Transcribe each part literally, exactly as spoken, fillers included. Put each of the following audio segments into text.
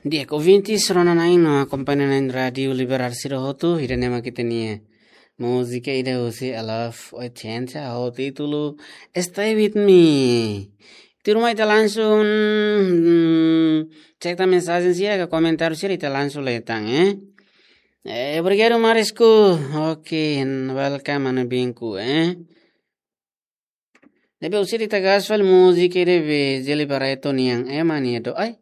Di'ak, ouvintes rona-na'in no akompaña-na'in Rádiu Liberal sira hotu, ida-ne'e mak ita-nia múzika ida husi Love Oitenta ho títulu Stay With Me. Tuirmai ita langsung, hmm, cek tan mensajen sira ka komentáriu sira, ita langsung lee tan, eh. Eh, obrigadu, Marisku. Ok, welcome, manu binku, eh. Ne'ebé orsida ita gás fali múzika ida be Jelly Barreto nian, ema nia doben. Ai.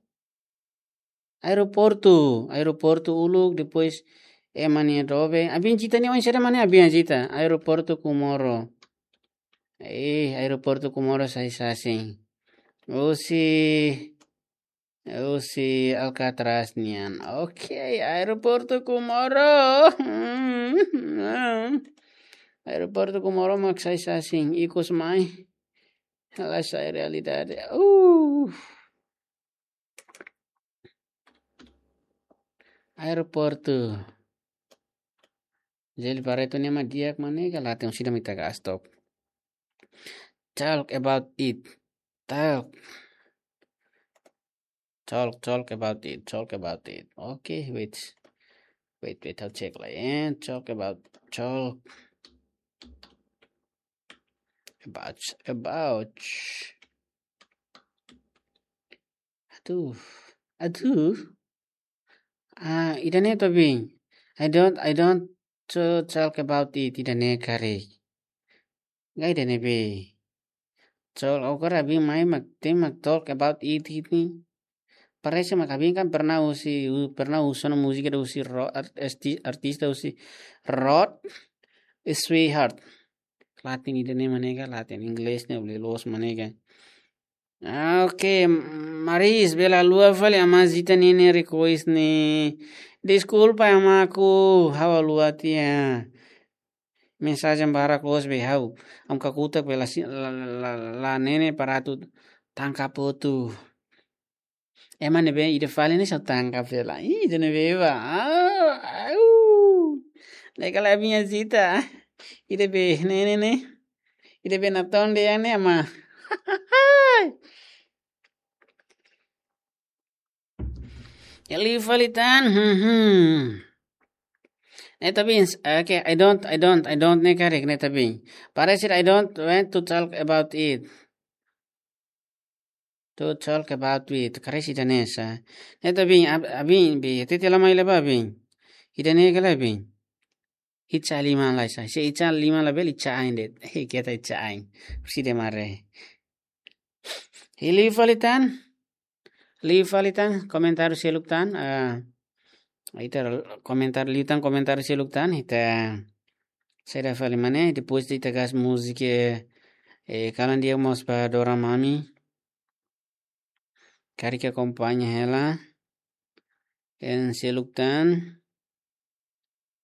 Aeroportu, aeroportu uluk, depois ema nia doben. Abin Zita nian, oinsá mak ne'e Abin Zita. Aeroportu Comoro. Eh, aeroportu Comoro sai sasin. Husi, husi Alcatraz nian. Ok, aeroportu Comoro. Aeroportu Comoro mak sai sasin. Ikus mai. Ela sai realidade. Uh. Aeroportu. Jelly Barreto nian mak di'ak, mane ka laten, orsida mak ita gás took. Talk about it. Talk. Talk, talk about it. Talk about it. Okay, wait. Wait, wait, ha'u cek lai, eh. Talk about, talk about, about. Aduh, aduh. Ah, ida-ne'e to, Bin. I don't, I don't to talk about it, ida-ne'e karik. Nggak, ida-ne'e be. Talk, agora Bin mai mak, ita mak talk about it, it ni. Parese mak Bin kan pernah husi, pernah husu ona múzika ida husi Ro-, art-, arti-, artista husi Rod Stewart. Laten ida-ne'e mak ne'e ka, laten inglés ne'e bele loos mak ne'e ka. Ah, ok, Maris, bele haluha fali Amá Zita ninia request ne'e. Deskulpa, Amá, ha'u haluha tiha. Mensajen barak loos be ha'u. Ami kakutak be la si-, la, la, la, la hatene para atu tangkap hotu. Ema ne'ebé ida fali ne'e só tangkap hela. Ih, ida ne'ebé ba. Ah, au. Ne'e kala Abin Zita. Ida be, ne'e, ne'e, ne'e. Ida be natoon dehan ne'e, Amá. Liu fali tan. Hmm, hmm. Ne'e ta Bin, okay, I don't, I don't, I don't ne'e karik, ne'e ta Bin. Parese I don't want to talk about it. To talk about it. Karesi ida-ne'e sá. Ne'e ta Bin, ab-, Abin, be, tete la mai leba Bin. Ida-ne'e kala Bin. Icha liman lai sá. Se icha liman labele icha ain de'it. He, keta icha ain. Orsida mak ne'e. Liu fali tan. Liu fali tan, komentáriu seluk tan. Ah, ita komentáriu liu tan, komentáriu seluk tan. Ita saida fali mak ne'e, depois ita gás múzika, eh, kalan di'ak mós ba Dora Mami. Karik akompaña hela. Ita seluk tan.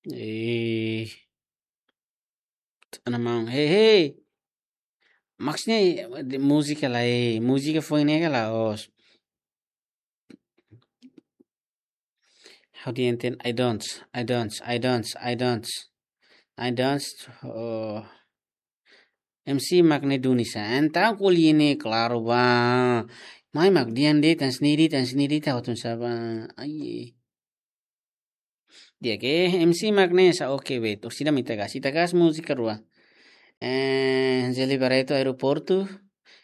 Eh, ana maun. Hey, hey. Maksudnya, di múzika lai, múzika foin ne'e ka la'ós. How do you intend? I don't, I don't, I don't, I don't. I don't, oh. M C mak ne'e duni sá. Entaun ko'alia ne'e klaru ba. Mai mak dehan de'it, tan sendiri, tan sendiri, ta hotun sá ba. Ai. Di'ak, M C mak ne'e sá, oke, wait. Orsida mak ita gás. Ita gás múzika rua. Eh, Jelly Barreto Aeroportu.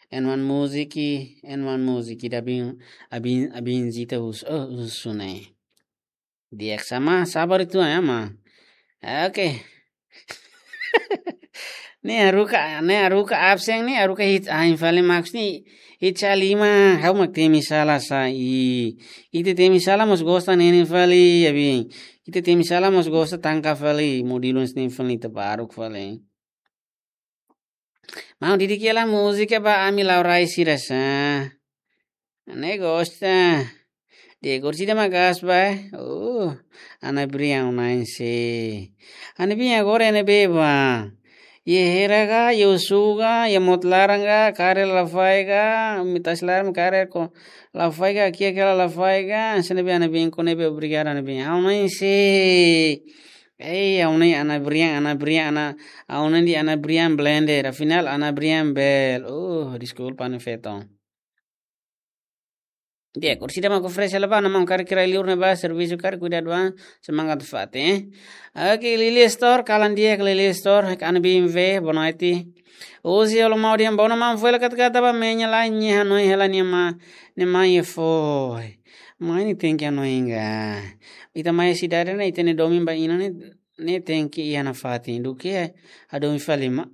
And one music, and one music. Ida Abin, Abin, Abin Zita husu, oh, husu ne'e. Di'ak sá, Amá, sabar uitoan, Amá. Oke. Ne'e haruka, ne'e haruka absen, ne'e haruka hit ain fali, maksudnya icha liman, ha'u mak temi sala sá, i. Ita temi sala mós gosta ne'e ne'e fali, Abin. Ita temi sala mós gosta tangkap fali, modilun sini fali, ita baruk fali. Maun, didik hela múzika ba ami la'o rai sira sá. Ne'e gosta. Di'ak, orsida mak gás ba. Oh, Ana Brian ohin ne'e sá. Ana Brian agora ne'ebé ba. Iha hera ka, iha osan ka, iha mota laran ka, kaer lafaek ka, imi tasi laran kaer ko lafaek ka, kiak hela lafaek ka, hanesan ne'ebé Ana Brian, ko ne'ebé obrigadu Ana Brian. Ha'u ne'e sá. Ei, ha'u ne'e Ana Brian, Ana Brian, Ana, ha'u ne'e di Ana Brian Blender, afinál Ana Brian Bel. Oh, deskulpa, Ana Feton. Di'ak, orsida mak oferese hela ba, ha'u-nia maun karik rai-liur ne'ebá servisu karik kuidadu an, semangat nafatin, eh. Oke, Lily Store, kalan di'ak Lily Store, Ana Bimve, boa noite. Hoje, olo mau dia, boa noite, maun, foin hela katak-katak ba, meña la, nia hanoin hela nia ma, nia mai foin. Mai ne'e tenke hanoin ga. Ita mai sidade ne'e, ita-nia domin ba inan ne'e, ne'e tenke iha nafatin. Duké hadomi fali ema,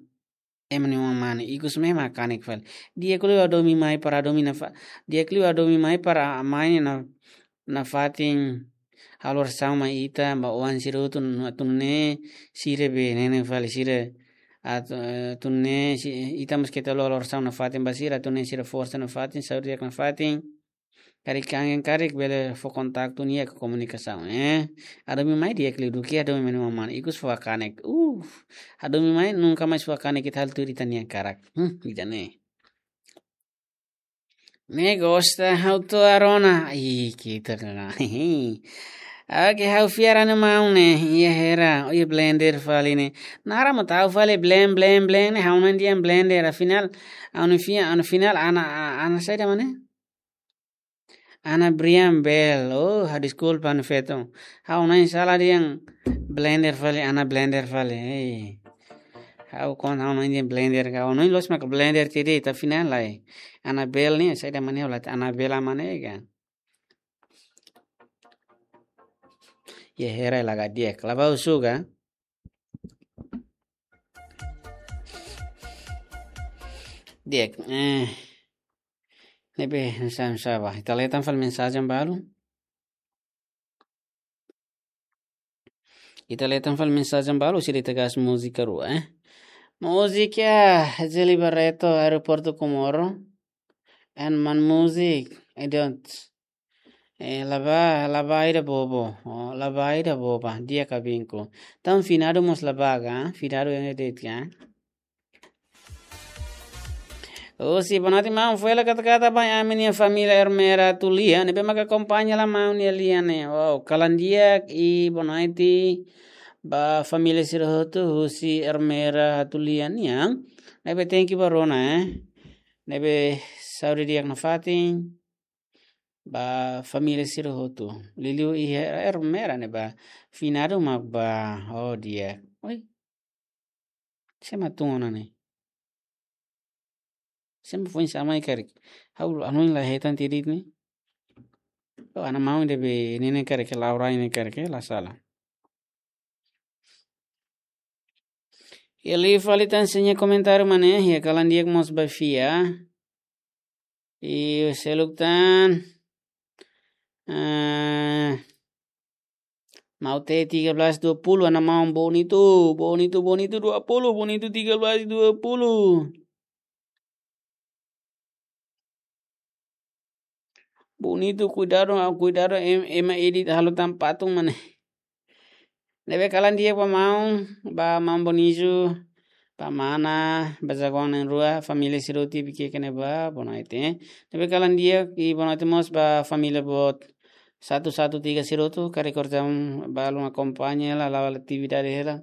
ema nia oan mane, ikus ne'e mak kanek fali. Di'ak liu hadomi mai para hadomi nafa-, di'ak liu hadomi mai para mai ne'e na, nafatin halo orasaun mai ita, ba oan sira hotu, atu nune'e sira be ne'e ne'e fali sira, atu, eh, atu nune'e si, ita mós keta halo orasaun nafatin ba sira, atu nune'e sira forsa nafatin, saúde di'ak nafatin. Karik kangen karik bele fó kontaktu nia ke komunikasaun, eh. Hadomi mai di'ak liu duké hadomi mai nia oan mane, ikus fó kanek. Uh, hadomi mai nunka mais fó kanek, ita halo tuir ita-nia karak. Hmm, ida-ne'e. Ne'e gosta ha'u to'o agora ona. Ih, kita ka. Oke, ha'u fiar ha'u-nia maun ne'e. Iha hera, iha blender fali ne'e. Naran mak tau fali blend, blend, blend ne'e. Ha'u hanoin dehan blender. Afinál, ha'u-nia fiar, ha'u-nia fiar, Ana, Ana saida mak ne'e? Ana Brian Bell. Oh, ha, deskulpa, ha'u-nia feto. Ha'u hanoin sala dehan blender fali, Ana blender fali. Hei. Ha'u kon ha'u hanoin dehan blender ka. Ha'u hanoin loos mak blender tiha de'it, tapi afinál lae. Ana Bell ne'e, saida mak ne'e, ha'u la hatene Ana Bell mak ne'e ka. Iha hera la ga di'ak. La bá husu ka. Di'ak, eh. Ne'ebé, sá, sá ba. Ita lee tan fali mensajen balu. Ita lee tan fali mensajen balu, sira ita gas múzika rua, eh. Múzika, Jeli Barreto, Aeroportu Comoro. And man múzika, I don't. Eh, la bá, la bá ida bobo. Oh, la bá ida boba. Di'ak ka binku. Tan finadu mós la bá ga, finadu yang edit ga. Husi boa noite maun, foin hela katak-katak ba ami-nia família Ermera Tulia, ne'ebé maka akompaña hela maun nia lian ne'e. Wow, kalan di'ak i boa noite ba família sira hotu husi Ermera Tulia nian. Ne'ebé thank you ba rona, eh. Ne'ebé saúde di'ak nafatin ba família sira hotu. Liuliu iha Ermera ne'ebá finadu mak bá, oh di'ak. Oi. Sé mak tun ona ne'e? Sé mak foin sa'e mai karik? Ha'u hanoin la hetan tiha de'it ne'e. Oh, Ana maun ida be ne'e ne'e karik, Laura ne'e karik, la sala. Iha liu fali tan sira-nia komentáriu mak ne'e, iha kalan di'ak mós ba fiar. I seluk tan. Eh, Maute tiga belas dua puluh, Ana maun bonitu, bonitu, bonitu dua puluh, bonitu tiga belas dua puluh. Bonitu, kuidadu, ah, kuidadu, em-, ema edit halo tan patung mak ne'e. Ne'ebé kalan di'ak ba maun, ba maun Boniju, ba mana, ba jagoan na'in-rua, família sira hotu iha Viqueque ne'ebá, boa noite. Ne'ebé kalan di'ak, i boa noite mós ba família boot satu satu tiga sira hotu, karik orsida balun akompaña hela, la'o atividade hela.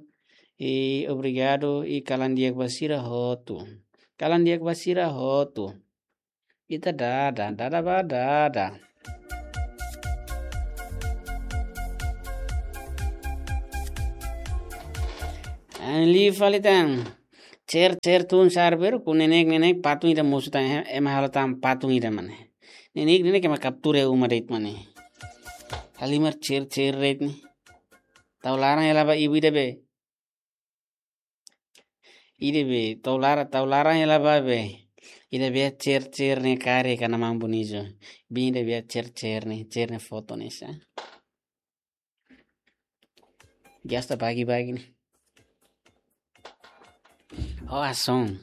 I obrigadu, i kalan di'ak ba sira hotu. Kalan di'ak ba sira hotu. Ita dada, dada ba dada. Liu fali tan. Cer, cer tun sarbero ku nenek, nenek patung ida mosu tan, eh, ema halo tan patung ida mak ne'e. Nenek, nenek ema kaptura uma de'it mak ne'e. Halimar cer, cer de'it ne'e. Tau laran hela ba ibu ida be. Ida be, tau lara-, tau laran hela ba be. Ida be cer-cer ne'e karik Ana maun Boniju. Be ida be cer-cer ne'e, cer ne'e foto ne'e sá. Gasta bagi-bagi ne'e. Oh, ason.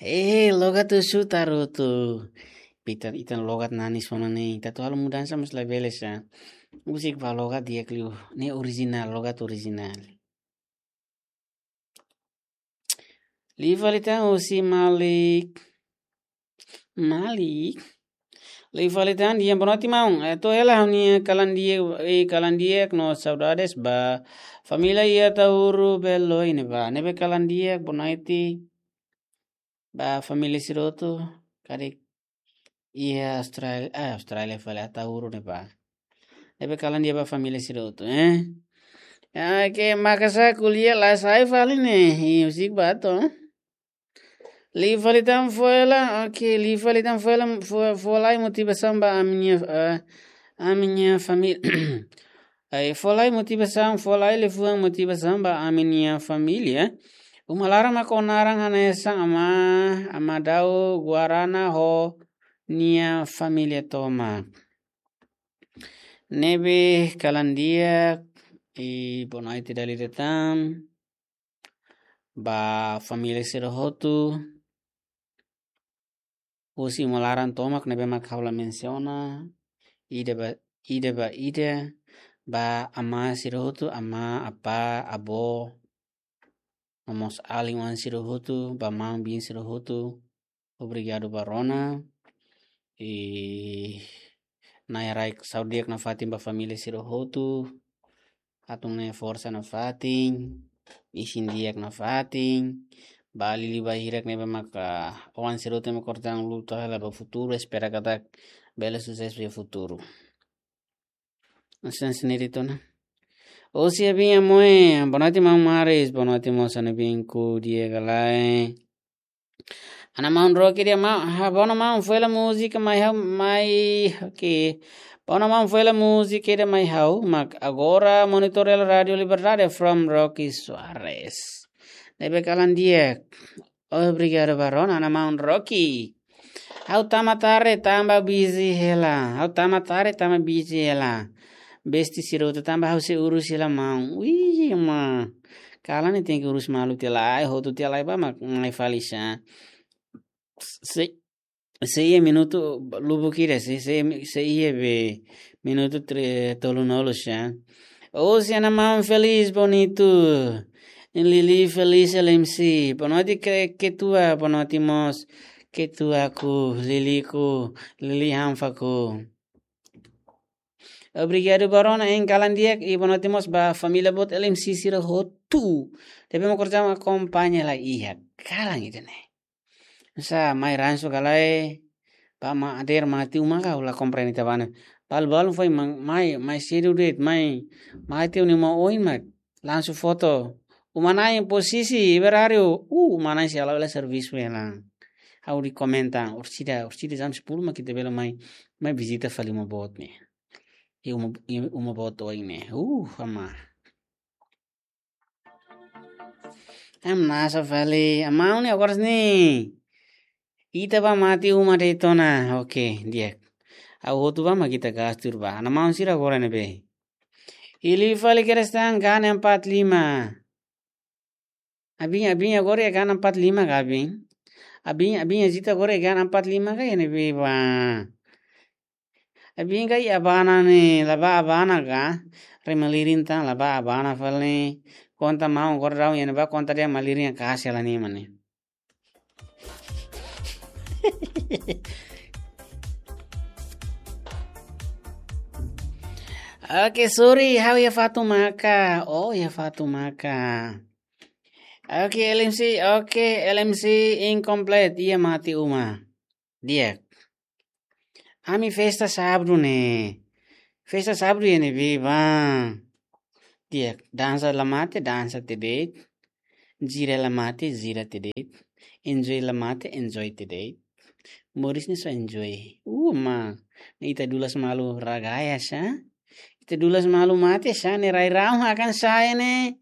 Eh, logat tu su tarutu. Ita, ita logat nani sona ne'e. Ita atu halo mudansa mas labele sá. Husik ba logat di'ak liu. Ne'e orijinál, logat orijinál. Liu fali tan husi Malik. Malik. Liu fali tan, di'ak, boa noite, maun. Eh, to'o hela ha'u-nia kalan di'ak, eh, kalan di'ak no saudades ba família iha Ataúro Belo ne'ebá. Ne'ebé kalan di'ak, boa noite ba família sira hotu, karik iha Austrália, ah, Austrália fali, Ataúro ne'ebá. Ne'ebé kalan di'ak ba família sira hotu, eh? Ah, ke maka'as ko'alia la sai fali ne'e, i husik ba to'o. Liu fali tan fo'er la, oke, liu fali tan fo'er la, fo-, fó lai motivasaun ba ami-nia, eh, ami-nia família. Ai, fó lai motivasaun, fó lai liafuan motivasaun ba ami-nia família. Uma laran mak ó naran hanesan amá, amá Dau Guarana ho nia família tomak. Ne'ebé kalan di'ak, i boa noite dala ida tan ba família sira hotu. Husi uma laran tomak ne'ebé mak ha'u la mensiona ida ba, ida ba ida, ba amá sira hotu, amá, apá, avó, no mós alin-oan sira hotu, ba maun-bin sira hotu. Obrigadu ba rona. I Na'i Rai saúde di'ak nafatin ba família sira hotu. Hatún ne'e forsa nafatin, isin di'ak nafatin. Ba liuliu ba hirak ne'ebé maka oan sira hotu mak kortan luta hela ba futuru, espera katak bele susesu iha futuru. Hanesan ne'e de'it ona. Osi abin amoe, boa noite maun Maris, boa noite mós ha'u-nia binku di'ak ka lae. Ana maun Rocky di'ak maun, ha, boa noite maun, foin la múzika mai ha'u, mai, oke. Boa noite maun, foin la múzika ida mai ha'u, mak agora monitor Rádio Liberdade from Rocky Soares. Ne'ebé kalan di'ak. Obrigadu ba rona, ana maun Rocky. Ha'u tama tarde tanba busy hela. Ha'u tama tarde tanba busy hela. Besti sira hotu tanba ha'u sei urus hela maun. Wih, ma. Kalan ne'e tenke urus malu tiha lai, hotu tiha lai ba mak mai fali sá. Se, se iha minutu lubuk ida, se, se, se iha be minutu tre-, tolunulu sá. Osi ana maun Feliz Bonito. Lili Feliz L M C. Boa noite ke-, ketua, boa noite mós ketuaku, Liliku, Lili Hanfaku. Obrigadu ba rona, hein, kalan di'ak, i boa noite mós ba família boot L M C sira hotu. Tapi mau kerja akompaña la iha. Kalan ida-ne'e. Sá, mai ransu ka lae, ba ma ader mate uma ka la komprende ita bana. Balu-balu foin ma-, mai, mai sedu de'it, mai, mate uni ma oin mak. Langsung foto. Uma na'in posisi, berário. Uh, uma na'in sei hala'o hela servisu hela. Ha'u rekomenda, orsida, orsida jam sepuluh mak ita bele mai, mai vizita fali uma boot ne'e. I uma, i uma boot oin ne'e. Uh, amá. Hamnasa fali, amá ne'e agora ne'e. Ita ba mate uma de'it ona. Oke, di'ak. Ha'u hotu ba mak ita gastu ba. Ana maun sira agora ne'ebé. Ili fali kerestan gana empat lima. Abin, abin agora iha gana empat lima ka abin. Abin, abin hezita agora iha gana empat lima ka iha ne'ebé ba. Abin ka iha abana ne'e, la ba abana ka. Rema lirin tan, la ba abana fali. Konta maun agora daudaun iha ne'ebá konta de'it malirin ka sela ni mane. Oke, sorry, ha'u iha fatuk maka. Oh, iha fatuk maka. Oke, L M C, oke, L M C incomplete, iha mate uma. Di'ak. Ami festa sábadu ne'e. Festa sábadu iha ne'ebé ba. Di'ak, dansa la mate, dansa tiha de'it. Gira la mate, gira tiha de'it. Enjoy la mate, enjoy tiha de'it. Moris ne'e só enjoy. Uh, ma. Ne'e ita dulas malu ragaya sá. Ita dulas malu mate sá, ne'e rai-rahun hakan sá ne'e.